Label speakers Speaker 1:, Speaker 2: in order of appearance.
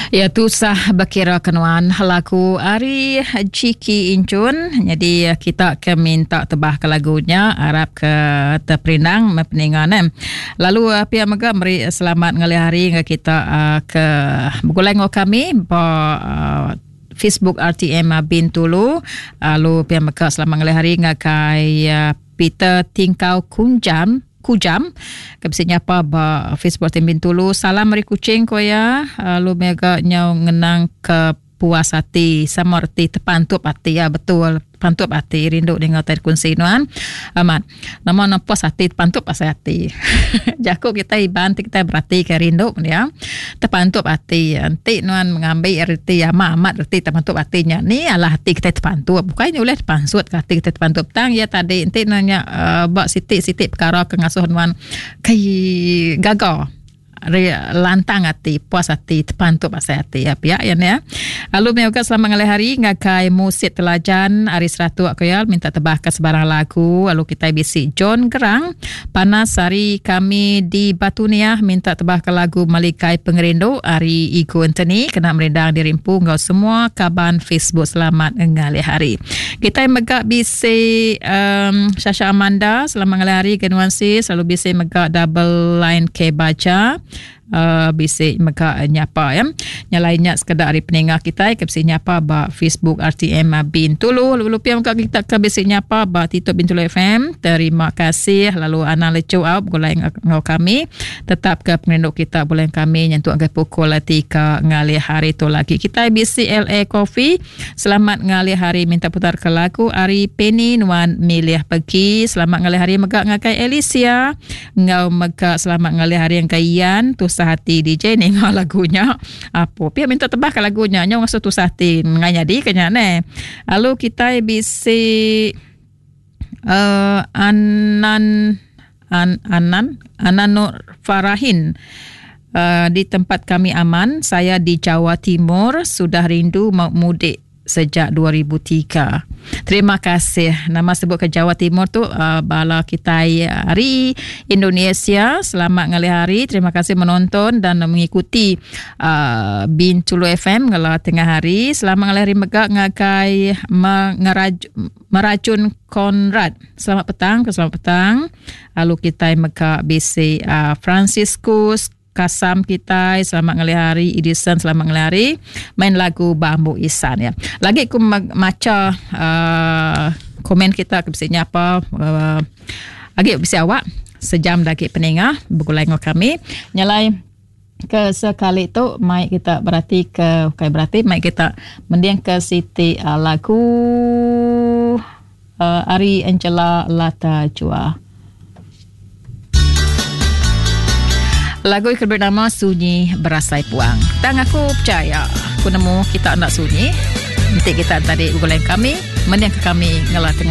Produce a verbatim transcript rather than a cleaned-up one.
Speaker 1: Ya tusah bekira kenuan lagu ari Jiki Inchun. Jadi kita ke minta tebah ke lagunya harap ke terperindang mepeningan eh. Lalu pihak mega meri selamat ngalih hari ke kita ke begulai ngau kami ba Facebook R T M Bintulu. Lalu pihak mega selamat ngalih hari ngagai Peter Tingkau Kunjam. Kujam ke bisi nyapa ba Facebook T M Bintulu. Salam meri kucing ko ya. Lalu mega nyau ngenang ke puas hati sama reti terpantup hati ya, betul pantup hati rindu dengar tai kunsi nuan amat nama na puas hati terpantup pasal hati. Jaku kita iban kita berarti ke rindu ya terpantup hati enti nuan mengambil reti amat amat reti terpantup hatinya ni alah hati kita terpantup bukannya oleh terpansut ke hati kita terpantup tang ya tadi enti nanya uh, bak sitik-sitik perkara ke ngasuh nuan kai gaga lantang hati, puas hati, terpantup asai hati ya pihak ya ya. Lalu mega selamat ngalih hari ngagai Musit Telajan hari Seratuk aku ya minta tebah ke sebarang lagu. Lalu kita bisi John Gerang panas hari kami di Batu Niah minta tebah ke lagu Malikai Pengerindu hari Igo Anthony kena merindang dirimpu ngau semua kaban Facebook. Selamat ngalih hari. Kita mega bisi um, Sasha Amanda selamat ngalih hari ke nuansi selalu bisi mega double line ke baca. Uh, bisi mega nyapa ya. Nyalai nya sekedar hari peningah kita ke bisi nyapa ba Facebook R T M Bintulu. Lalu pia mega kita ke bisi nyapa ba TikTok Bintulu F M. Terima kasih lalu ana lecu au begulai ngau kami. Tetap ke pengerindu kita boleh kami nyentuk ke pukul tiga ngalih hari tu lagi. Kita bisi L A Coffee. Selamat ngalih hari minta putar ke lagu Ari Penny nuan milih pergi. Selamat ngalih hari mega ngagai Alicia. Ngau mega selamat ngalih hari yang Ian tu hati D J ni ngau lagunya. Apa pia minta tebah ke lagunya nyau ngasuh tusah hati ngai jadi kenya ne. Lalu kita bisi uh, Anan An, Anan Anan Nur Farahin. Uh, di tempat kami aman, saya di Jawa Timur sudah rindu mau mudik sejak dua ribu tiga. Terima kasih. Nama sebut ke Jawa Timur tu uh, bala kita hari Indonesia. Selamat ngalih hari. Terima kasih menonton dan mengikuti uh, Bintulu F M ngala tengah hari. Selamat ngalih hari mega ngagai mengeraj, meracun Konrad. Selamat petang, selamat petang. Lalu kita mega bisi uh, Franciscus Kasam kita, selamat ngalih hari. Edison, selamat ngalih hari. Main lagu Bambu Isan ya. Lagi aku maca uh, komen kita ke bisi nyapa uh, lagi bisi awak sejam lagi peningah bergulai dengan kami. Nyalai ke sekali tu mai kita berarti ke kai berarti mai kita mending ke siti uh, lagu uh, Ari Angela Lata Jua. Lagu yang bernama Sunyi Berasai Puang. Tang aku percaya aku nemu kita nak sunyi. Nanti kita tadi bergulai kami, mending ke kami ngelah tengah